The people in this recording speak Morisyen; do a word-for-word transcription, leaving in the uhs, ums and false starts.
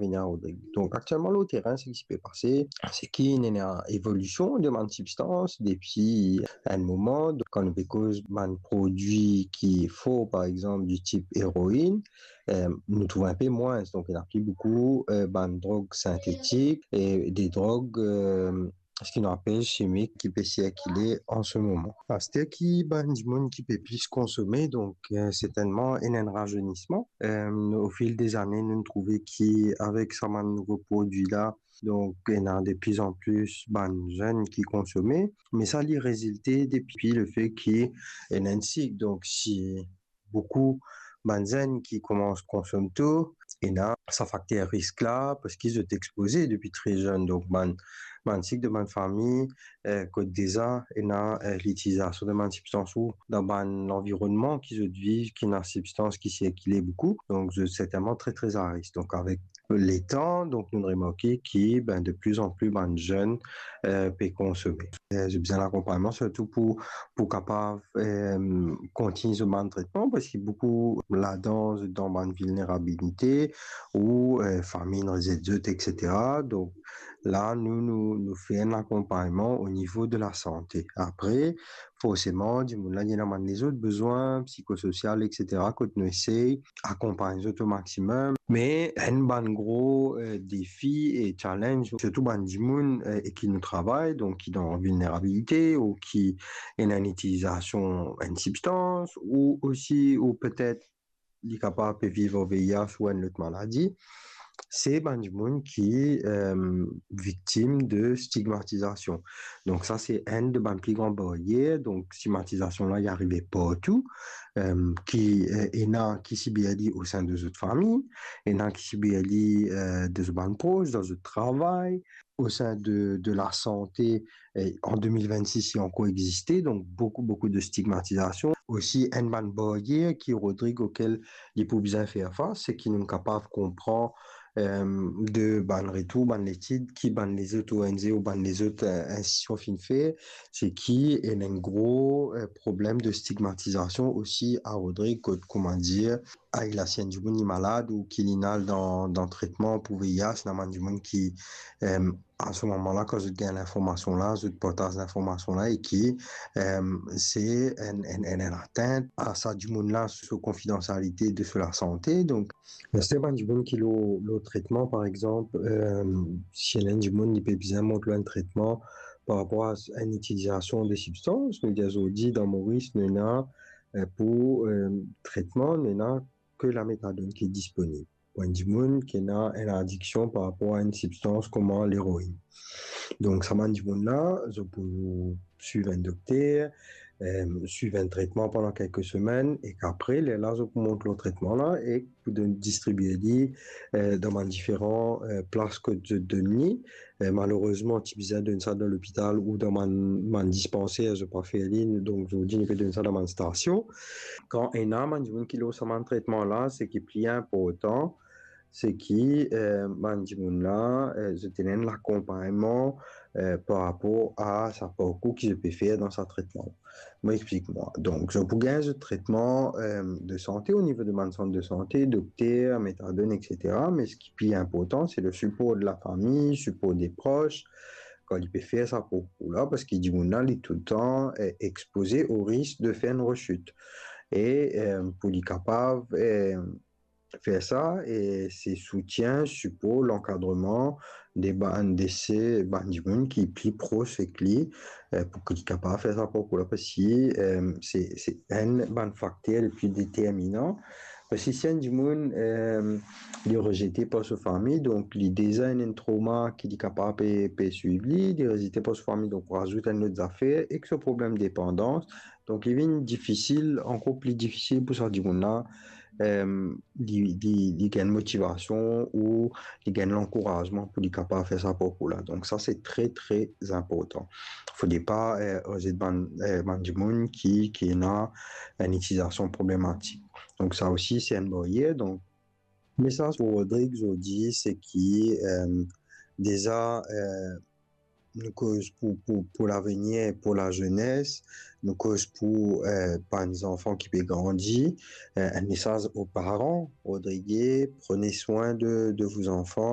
Vini a Rodrig. Donk, aktielman, lor terin, seki pe pase, seki ena evolision de bann sibstans depi enn moman. Donk, kan nou pe koz bann prodwi ki for, par exanp, di tip eroin, eh, nou trouv inpe mwins. Donk, ena pli boukou, eh, bann drog sintetik e de drog, eh, seki nou apel simik ki pe sirkile an se moman. Aster ki bann dimoun ki pe plis konsome, donk, eh, sertennman, ena enn razeynisman. Eh, o fil de zane, nou trouve ki avek sa bann nouvo prodwi la, donk, ena de plis an plis bann zenn ki konsome, me sa li rezilte depi lefe ki ena enn sik. Donk, si boukou bann zenn ki koumans konsom to, ena sa fakter risk la, parski zot expoze depi tre zenn. Donk, bann, bann sik de bann fami, eh, kot deza ena, eh, litilizasion de bann sibstans ou dan bann lanvironnman ki zot viv, ki ena sibstans ki sirkile boukou. Donk, zot sertennman tre, tre a risk. Donk, avek letan, donk, nou remarke ki, ben, de plis an plis bann zenn, eh, pe konsome. Eh, zot bizin lakonpagnman, sirtou pou, pou kapav, eh, kontign zot bann tretman, parski boukou ladan zot dan bann vilnerabilite, ou, eh, fami inn rezet zot, et cetera. Donk, la, nou, nou, nou fer enn lakonpagnman o nivo de lasante. Apre, forseman, dimoun la, li ena bann lezot bizin psikososial, et cetera, kot nou esey akonpagn zot o maximum. Me enn bann gro, eh, defi e challenge, sirtou bann dimoun, eh, ek ki nou travay, donk ki dan vilnerabilite ou ki ena enn itilizasion enn sibstans, ou osi, ou petet li kapav pe viv ar V I H ou enn lot maladi, se bann dimoun ki, eh, viktim de stigmatizasion. Donk sa, se enn de bann pli gran baryer. Donk stigmatizasion la, li arive partou, eh, ki, eh, ena ki sibir li o sin de zot fami, ena ki sibir li, eh, de zot bann pros, dan zot travay, o sin de, de lasante, eh, an de mil vennsis, li ankor existe, donk boukou, boukou de stigmatizasion. Osi, enn bann baryer ki Rodrig okel li pou bizin fer fas, seki nou kapav konpran, eh, de bann retour, bann letid ki bann lezot O N G ou bann lezot, eh, institision finn fer, seki ena enn gro, eh, problem de stigmatizasion osi a Rodrig, kot, kouma dir, a, la si enn dimoun li malad ou ki li al dan, dan tretman pou V I H, ena bann dimoun ki, eh, a se moman la, kan zot gagn linformasion la, zot partaz linformasion la e ki, eh, se enn, enn, enn, enn atint a sa dimoun la, so konfidansialite de so lasante. Donk, ena serten bann dimoun ki lor, lor tretman, par exanp, eh, si ena enn dimoun li pe bizin mont lor enn tretman par rapor a enn itilizasion de sibstans, nou dir azordi dan Moris, nou ena, eh, pou, eh, tretman, nou ena ke lametadonn ki disponib. Pou enn dimoun ki ena enn adiksion par rapor a enn sibstans kouma leroin. Donk, sa bann dimoun la, zot pou swiv enn dokter, eh, swiv enn tretman pandan kelke semenn, ek apre, lerla zot pou mont lor tretman la, e pou donn, distribie li, eh, dan bann diferan, eh, plas kot zot donn li. Eh, malerezman, ti bizin donn sa dan lopital ou dan bann, bann dispanser, zot pa fer li, donk, zordi, nou pe donn sa dan bann stasion. Kan ena bann dimoun ki lor sa bann tretman la, seki pli inportan, seki, eh, bann dimoun la, eh, zot ena enn lakonpagnman, eh, par rapor a sa parkour ki zot pe fer dan sa tretman. Mo explik mwa. Donk, zot pou gagn zot tretman, eh, de sante o nivo de bann sant de sante, dokter, metadonn, et cetera. Me seki pli inportan, se le sipor de lafami, sipor de pros, kan li pe fer sa parkour la, parski dimoun la, li toultan, eh, expoze o risk de fer enn resit. E, eh, pou li kapav, eh, fer sa, e se soutien, sipor, lankadreman de bann, de se bann dimoun ki pli pros ek li, eh, pou ki li kapav fer sa parkour la, parski, eh, se, se enn bann fakter le pli determinan. Parski si enn dimoun, eh, li rezete par so fami, donk li deza ena enn trauma ki li kapav pe, pe swiv li, li rezete par so fami, donk ou razout enn lot zafer, ek so problem depandans, donk, li vinn difisil, ankor pli difisil pou sa dimoun la, eh, li, li, li gagn motivasion ou li gagn lankourazman pou li kapav fer sa parkour la. Donk, sa, se tre, tre inportan. Fode pa, eh, rezet bann, eh, bann dimoun ki, ki ena enn itilizasion problematik. Donk, sa osi, se enn baryer. Donk, mesaz pou Rodrig zordi, seki, eh, deza, eh, nou koz pou, pou, pou lavenir, pou lazenes, nou koz pou, eh, bann zanfan ki pe grandi, eh, enn mesaz aux parents, Rodrigue, prenez soin de, de vos enfants,